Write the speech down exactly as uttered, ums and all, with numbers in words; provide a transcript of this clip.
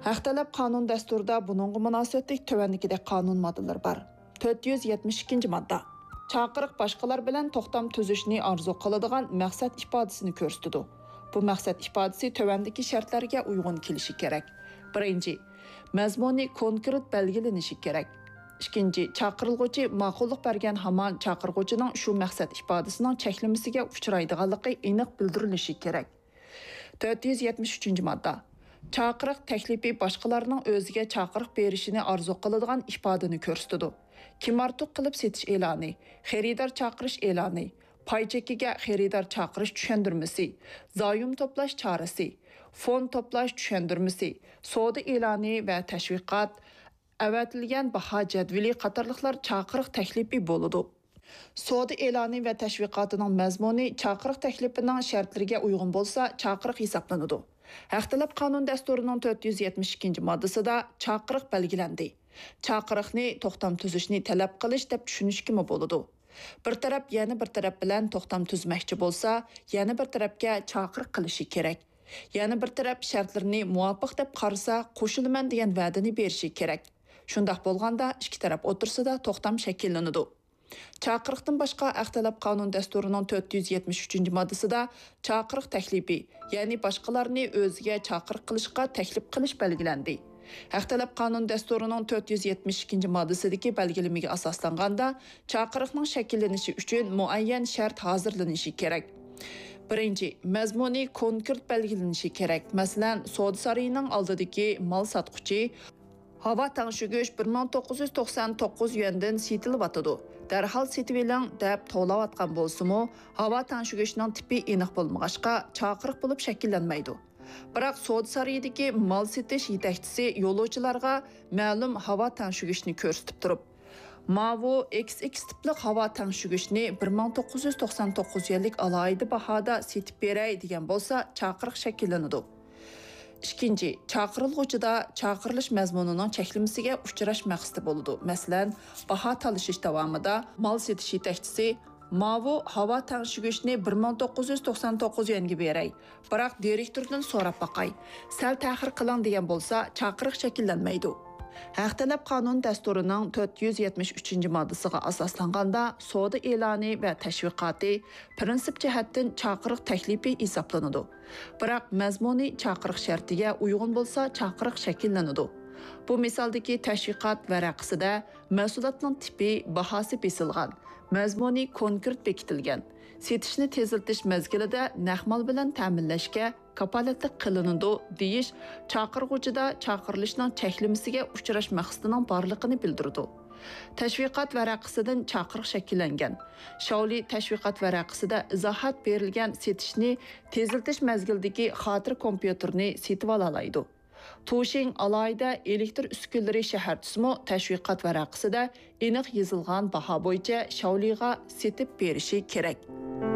ھەق تەلەپ قانۇن دەستۇرىدا بۇنىڭغا مۇناسىۋەتلىك تۆۋەندىكىدەك قانۇن ماددىلىرى بار. تۆت يۈز يەتمىش ئىككىنچى ماددا. چاقىرىق باشقىلار بىلەن توختام تۈزۈشنى ئارزۇ قىلىدىغان مەقسەت ئىپادىسىنى كۆرسىتىدۇ. بۇ مەقسەت ئىپادىسى تۆۋەندىكى شەرتلەرگە ئۇيغۇن كېلىشى كېرەك. بىرىنچى، مەزمۇنى كونكرېت بەلگىلىنىشى كېرەك. ئىككىنچى، چاقىرىلغۇچى ماقۇللۇق بەرگەن ھامان چاقىرغۇچىنىڭ شۇ مەقسەت ئىپادىسىنىڭ چەكلىمىسىگە ئۇچرايدىغانلىقى ئېنىق بىلدۈرۈلۈشى كېرەك. تۆت يۈز يەتمىش ئۈچىنچى ماددا. چاقىرىق تەكلىپى باشقىلارنىڭ ئۆزىگە چاقىرىق بېرىشىنى ئارزۇ قىلىدىغان ئىپادىنى كۆرسىتىدۇ. كىم ئارتۇق قىلىپ سېتىش ئېلانى، خېرىدار چاقىرىش ئېلانى، پاي چېكىگە خېرىدار چاقىرىش چۈشەندۈرمىسى، زايوم توپلاش چارىسى، فوند توپلاش چۈشەندۈرمىسى، سودا ئېلانى ۋە تەشۋىقات، ئەۋەتىلگەن باھا جەدۋىلى قاتارلىقلار چاقىرىق تەكلىپى بولىدۇ. سودا ئېلانى ۋە تەشۋىقاتىنىڭ مەزمۇنى چاقىرىق تەكلىپىنىڭ شەرتلىرىگە ئۇيغۇن بولسا، چاقىرىق ھېسابلىنىدۇ. ھەق تەلەپ قانۇن دەستۇرىنىڭ تۆت يۈز يەتمىش ئىككىنچى ماددىسىدا چاقىرىق بەلگىلەندى. چاقىرىقنى توختام تۈزۈشنى تەلەپ قىلىش دەپ چۈشىنىشكىمۇ بولىدۇ. بىر تەرەپ يەنە بىر تەرەپ بىلەن توختام تۈزمەكچى بولسا، يەنە بىر تەرەپكە چاقىرىق قىلىشى كېرەك. يەنە بىر تەرەپ شەرتلىرىنى مۇۋاپىق دەپ قارىسا، قوشۇلىمەن دېگەن ۋەدىنى بېرىشى كېرەك. شۇنداق بولغاندا، ئىككى تەرەپ ئوتتۇرىسىدا توختام شەكىللىنىدۇ. چاقىرىقتىن باشقا، ھەق تەلەپ قانۇن دەستۇرىنىڭ تۆت يۈز يەتمىش ئۈچىنچى ماددىسىدا چاقىرىق تەكلىپى، يەنى باشقىلارنى ئۆزىگە چاقىرىق قىلىشقا تەكلىپ قىلىش بەلگىلەندى. ھەق تەلەپ قانۇن دەستۇرىنىڭ تۆت يۈز يەتمىش ئىككىنچى ماددىسىدىكى بەلگىلىمىگە ئاساسلانغاندا، چاقىرىقنىڭ شەكىللىنىشى ئۈچۈن مۇئەييەن شەرت ھازىرلىنىشى كېرەك. بىرىنچى، مەزمۇنى كونكرېت بەلگىلىنىشى كېرەك. مەسىلەن، سودا سارىيىنىڭ ئالدىدىكى مال ساتقۇچى، ھاۋا تەڭشىگۈچ بىر مىڭ توققۇز يۈز توقسان توققۇز يۈەندىن سېتىلىۋاتىدۇ، دەرھال سېتىۋېلىڭ دەپ توۋلاۋاتقان بولسىمۇ، ھاۋا تەڭشىگۈچنىڭ تىپى ئېنىق بولمىغاچقا، چاقىرىق بولۇپ شەكىللەنمەيدۇ. بىراق سودا سارىيىدىكى مال سېتىش يېتەكچىسى يولۇچىلارغا مەلۇم ھاۋا تەڭشىگۈچنى كۆرسىتىپ تۇرۇپ، ماۋۇ ئېكس ئېكس تىپلىق ھاۋا تەڭشىگۈچنى بىر مىڭ توققۇز يۈز توقسان توققۇز يۈەنلىك ئالاھىدە باھادا سېتىپ بېرەي دېگەن بولسا، چاقىرىق شەكىللىنىدۇ. ئىككىنچى، چاقىرىلغۇچىدا چاقىرىلىش مەزمۇنىنىڭ چەكلىمىسىگە ئۇچراش مەقسىتى بولىدۇ. مەسىلەن، باھا تالىشىش داۋامىدا مال سېتىش يېتەكچىسى، ماۋۇ ھاۋا تەڭشىگۈچنى بىر مىڭ توققۇز يۈز توقسان توققۇز يۈەنگە بېرەي، بىراق دىرېكتوردىن سوراپ باقاي، سەل تەخىر قىلىڭ دېگەن بولسا، چاقىرىق شەكىللەنمەيدۇ. ھەق تەلەپ قانۇن دەستۇرىنىڭ تۆت يۈز يەتمىش ئۈچىنچى ماددىسىغا ئاساسلانغاندا، سودا ئېلانى ۋە تەشۋىقاتى پىرىنسىپ جەھەتتىن چاقىرىق تەكلىپى ھېسابلىنىدۇ. بىراق مەزمۇنى چاقىرىق شەرتىگە ئۇيغۇن بولسا، چاقىرىق شەكىللىنىدۇ. بۇ مىسالدىكى تەشۋىقات ۋەرەقىسىدە مەھسۇلاتنىڭ تىپى، باھاسى بېسىلغان، مەزمۇنى كونكرېت بېكىتىلگەن، سېتىشنى تېزلىتىش مەزگىلىدە نەق مال بىلەن تەمىنلەشكە كاپالەتلىك قىلىنىدۇ دېيىش چاقىرغۇچىدا چاقىرىلىشنىڭ چەكلىمىسىگە ئۇچراش مەقسىتىنىڭ بارلىقىنى بىلدۈرىدۇ. تەشۋىقات ۋەرەقىسىدىن چاقىرىق شەكىللەنگەن. شاۋلى تەشۋىقات ۋەرەقىسىدە ئىزاھات بېرىلگەن سېتىشنى تېزلىتىش مەزگىلىدىكى خاتىرە كومپيۇتېرنى سېتىۋالالايدۇ. توشىڭ ئالاھىدە ئېلېكتر ئۈسكۈنىلىرى شەھەرچىسىمۇ تەشۋىقات ۋەرەقىسىدە ئېنىق يېزىلغان باھا بويىچە شاۋلىغا سېتىپ بېرىشى كېرەك.